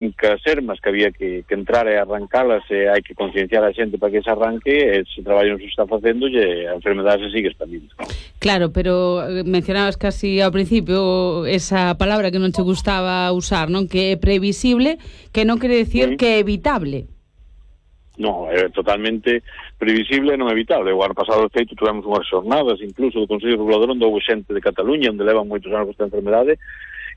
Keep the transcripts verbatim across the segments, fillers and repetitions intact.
as ermas que había que, que entrar e arrancalas, e hai que concienciar a xente para que se arranque, e ese traballo non se está facendo e a enfermedade se sigue expandindo. Claro, pero mencionabas casi ao principio esa palabra que non te gustaba usar, non? Que é previsible, que non quere decir sí. que é evitable. Non, é totalmente previsible e non evitable. O ano pasado, de feito, tivemos unhas xornadas, incluso do Consello Regulador, onde houve xente de Cataluña, onde levan moitos anos esta enfermedade,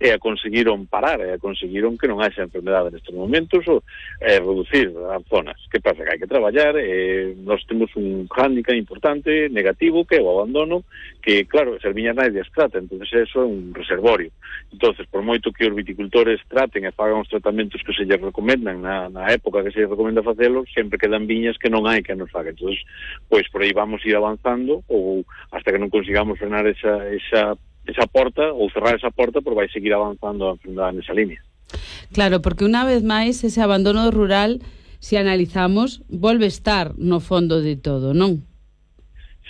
e a conseguiron parar, e a conseguiron que non haxa enfermedade nestes momentos, ou e reducir as zonas. Que pasa? Que hai que traballar, e nós temos un hándicap importante, negativo, que é o abandono, que, claro, as viñas nadie as trata, entonces eso é un reservorio. Entonces, por moito que os viticultores traten e fagan os tratamentos que se lles recomendan na, na época que se lles recomenda facelo, sempre quedan viñas que non hai que nos faga. Entonces, pois por aí vamos ir avanzando, ou hasta que non consigamos frenar esa, esa esa porta, ou cerrar esa porta, porque vai seguir avanzando a enfermedade nesa línea. Claro, porque unha vez máis ese abandono rural, se analizamos, volve estar no fondo de todo, non?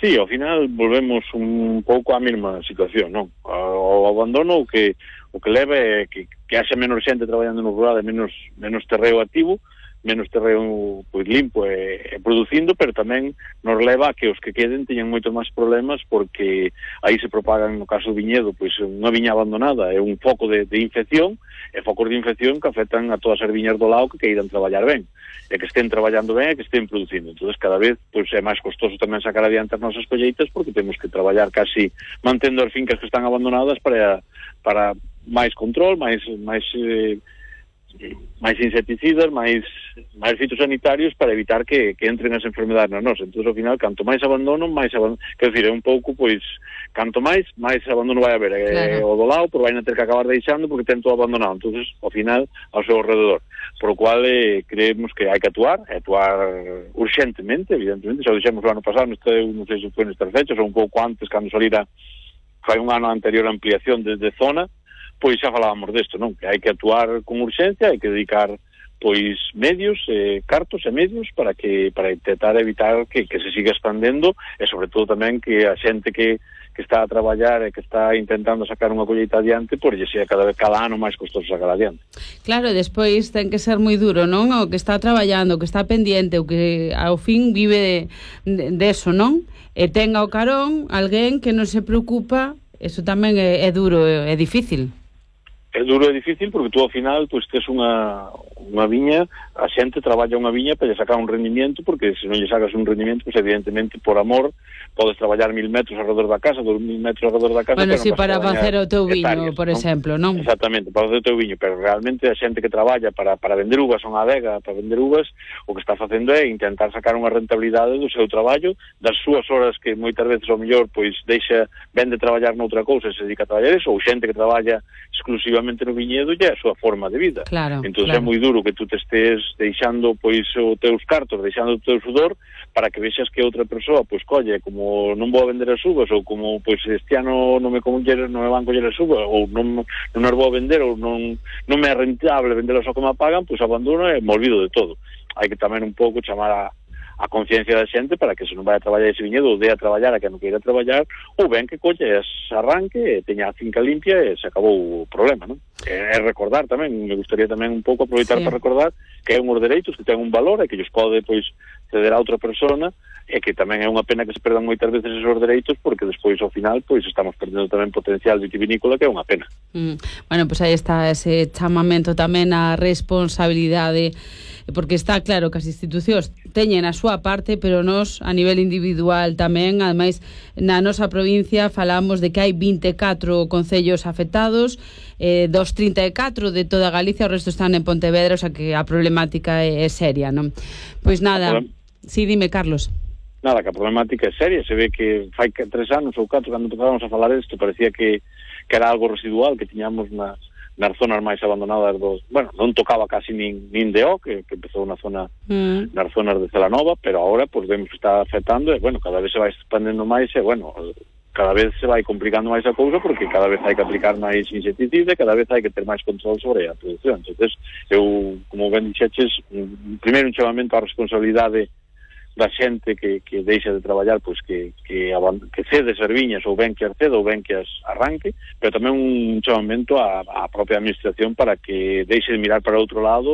Sí, ao final volvemos un pouco á mesma situación, non? O abandono o que o que leva é que, que haxe menos xente traballando no rural e menos, menos terreo activo, menos terreo pois limpo e, e producindo, pero tamén nos leva a que os que queden teñan moito máis problemas, porque aí se propagan, no caso do viñedo, pois unha viña abandonada é un foco de, de infección, e focos de infección que afectan a todas as viñas do lado que queiran traballar ben, e que estén traballando ben e que estén producindo. Entonces cada vez pois é máis costoso tamén sacar adiante as nosas colleitas, porque temos que traballar casi mantendo as fincas que están abandonadas para para máis control, máis máis eh, máis insecticidas, máis máis fitosanitarios para evitar que, que entren as enfermedades na nosa. Entón, ao final, canto máis abandono, máis abandono, quer dizer, é un pouco, pois, canto máis, máis abandono vai haber. Claro. É, o do lado, pois vai ter que acabar deixando porque ten todo abandonado. Entón, ao final, ao seu alrededor. Por o cual, eh, creemos que hai que actuar, actuar urgentemente, evidentemente, xa o dixemos o ano pasado, non sei se foi nestas fechas, ou un pouco antes, cando salira, fai un ano anterior a ampliación desde zona, pois xa falábamos desto, non? Que hai que actuar con urxencia, hai que dedicar pois medios, eh, cartos e medios para que para intentar evitar que, que se siga expandendo, e sobre todo tamén que a xente que, que está a traballar e que está intentando sacar unha colleita adiante, pois lle sea cada vez cada ano máis costoso sacar adiante. Claro, e despois ten que ser moi duro, non? O que está traballando, o que está pendiente, o que ao fin vive de, de, de eso, non? E ten ao carón alguén que non se preocupa, eso tamén é, é duro, é, é difícil. É duro e difícil porque tú ao final pois tes unha, unha viña, a xente traballa unha viña para lle sacar un rendimiento, porque se non lle sacas un rendimiento, pois evidentemente por amor podes traballar mil metros alrededor da casa, dos mil metros alrededor da casa. Bueno, si sí, para facer o teu viño, por ¿no? exemplo, non? Exactamente, para facer o teu viño, pero realmente a xente que traballa para, para vender uvas a unha adega, para vender uvas, o que está facendo é intentar sacar unha rentabilidade do seu traballo, das súas horas que moitas veces ao mellor pois deixa, vende traballar noutra cousa e se dedica a traballar eso, ou xente que traballa exclusivamente no viñedo e é a súa forma de vida. Claro, entón claro. É moi duro que tú te estés deixando pois os teus cartos, deixando o teu sudor para que vexas que outra persoa pois colle, como non vou a vender as uvas, ou como pois este ano non me coller, non me van coller as uvas, ou non, non as vou a vender, ou non, non me é rentable vendelas ao que me pagan, pois abandono e me olvido de todo. Hai que tamén un pouco chamar a a conciencia da xente para que se non vai a traballar ese viñedo ou dé a traballar a que non queira traballar, ou ben que colle as arranque e teña a finca limpia e se acabou o problema, non? É recordar tamén, me gustaría tamén un pouco aproveitar sí. para recordar que é unhos dereitos que ten un valor e que lles pode pois ceder a outra persona, e que tamén é unha pena que se perdan moitas veces esos dereitos, porque despois ao final pois estamos perdendo tamén potencial vitivinícola, que é unha pena. Mm. Bueno, pois aí está ese chamamento tamén á responsabilidade, porque está claro que as institucións teñen a súa parte, pero nós a nivel individual tamén, ademais na nosa provincia falamos de que hai vinte e catro concellos afectados, eh, dos trinta e catro de toda Galicia, o resto están en Pontevedra, o sea que a problemática é, é seria, non? Pois nada, si, sí, dime, Carlos. Nada, que a problemática é seria, se ve que fai tres anos ou catro cando empezamos a falar isto, parecía que, que era algo residual que tiñamos nas nas zonas máis abandonadas dos, bueno, non tocaba casi nin, nin de O, que, que empezou na zona mm. nas zonas de Celanova, pero agora pues, vemos que está afectando e, bueno, cada vez se vai expandendo máis e, bueno, cada vez se vai complicando máis a cousa porque cada vez hai que aplicar máis insecticida e cada vez hai que ter máis control sobre a produción. Entonces, eu, como ben dixeches, primeiro un chamamento á responsabilidade da xente que, que deixa de traballar, pois que, que, que cede serviñas ou ben que acceda ou ben que as arranque, pero tamén un chamamento á, á propia administración para que deixe de mirar para outro lado